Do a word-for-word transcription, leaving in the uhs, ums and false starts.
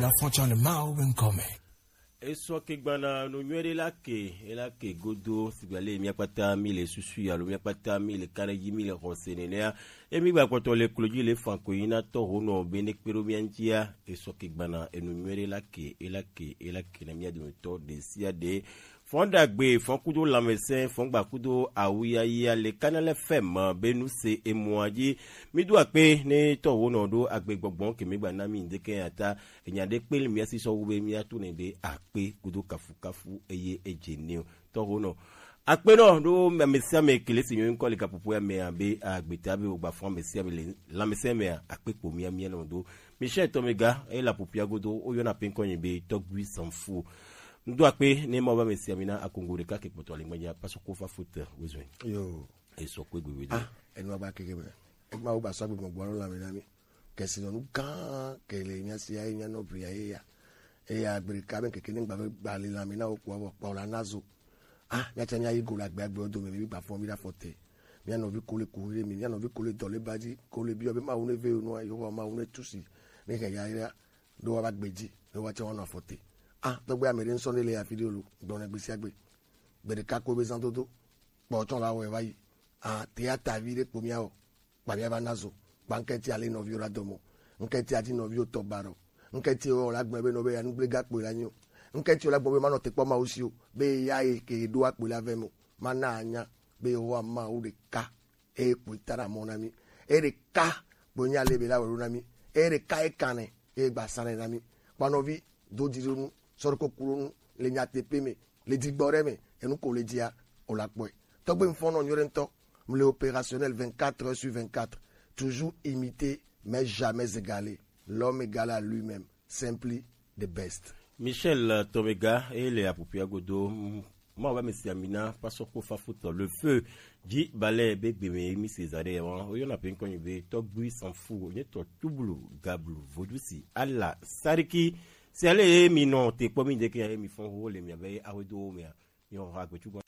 Afɔtsa le Mawu be ŋkɔ me. Esɔ ke gbana no nyuie ɖe la ke, ela ke godo, sigba le mía kpata mi le susu ya lo, mía kpata mi le kaɖedzi, mi le xɔse nenea, emi gba kpɔtɔ le klo dzi le fan ko yi na tɔ ho nɔ be ne kpe ɖo mía ŋutia, esɔ ke gbana enu nyuie ɖe la ke, ela ke, ela ke na mía dometɔ ɖe sia ɖe. Fɔn ɖagbe, fɔn kudo lãmesẽ, fɔn gba kudo awuyaya le Canal F M be nu se emɔa dzi. Mi do akpe ne tɔ wo nɔ ɖo agbe gbɔgbɔ ke mi gba na mi ŋdeke ya ta. Enya ɖe kpe le mía si sɔ wu be mía to ne be akpe kudo kafukafu eye edze ne o. Tɔ wo nɔ akpe nɔ ɖo ame sia ame ke le si nyɔ ŋkɔ le gaƒoƒo ya mea be agbeta be wogba fɔn ame sia ame le lãmesẽ mea akpe kpo mía mía nɔ do. Michel Tomega, eye le aƒoƒia godo, woyɔna pe ŋkɔ nyi be Tɔgbui Sanfu. Ŋdo akpe ne Mawu be ame sia mi na akongo ɖeka ke kpɔtɔ le ŋgbedza pasɔ ko fa fote wezɔe. Yo. Esɔ kpe gbegbe do. Ah, enu aba keke be. Ema wo ba sɔ agbe gbɔgbɔ alo lãme na mi. Kesinɔnu gã ke le mía si ya ye mía nɔ bli ya ye ya. Eya gbe ɖeka be keke ne ŋgba be gba le lãme na wo kpɔ vɔ kpɔ la na zo. Ah, míatsã míayi go le agbe agbe wo dome, mi gba fɔ mi ɖe afɔ te. Mía nɔvi ko le kuxi ɖe mi, mía nɔvi ko le dɔléba dzi, ko le biɔ be Mawu ne ve wo nua, Yehowa Mawu ne tu si, ne hɛn yayra ɖo woƒe agbe dzi, ne woatsã woanɔ afɔ te. Ah, tɔgbe ame ɖe ŋsɔ ne le afi ɖe lo, gblɔ na gbe sia gbe. Gbe ɖeka ko be zãdodo, kpɔ tsɔ la wɔe va yi. Ah, te ya ta vi ɖe kpo míawɔ. Kpa mía va na zo. Kpa ŋkɛti ale nɔviwo la dɔmɔ. Ŋkɛti adi nɔviwo tɔ ba ɖɔ. Ŋkɛti wo la gblɔ be nɔ be ya nugble ga kpoe la nyo. Ŋkɛti wo la gblɔ be manɔ te kpɔ Mawu si o. Be ya ye ke ɖo akpoe la vɛ mo. Mana anya be Yehowa Mawu ɖeka. Eye kpoe ta ɖa mɔ na mi. Eye ɖeka kpoe nya le be la wɔ ɖo na mi. Eye ɖeka ye kanɛ. Eye gba sanɛ na mi. Kpa nɔvi do dzi ɖo nu. Sɔ ɖo koku ɖo nu. Le nyateƒe me. Le dzigbɔ ɖe me. Enu ko le dzia. O la kpɔe. Tɔgbe ŋfɔnɔ nyuie ɖe ŋutɔ. Mle opérationnel vingt-quatre heures sur vingt-quatre. Toujours imité, mais jamais égalé. L'homme égal à lui-même. Simply the best. Michel Tomega, ele apupia godo. Mawu be ame sia mi na pasɔ ko fafutɔ le feu. Dzi balɛ be gbe me mi se za ɖe wa. Oyɔna pe ŋkɔ nyi be Tɔgbui Sanfu, nye tɔ tublu gablu vodusi ala sariki. Si ale ye mi nɔ te kpɔ mi deke ye mi fɔn ho le mi abe awe do mea. Mi xɔ agbetu gbɔ.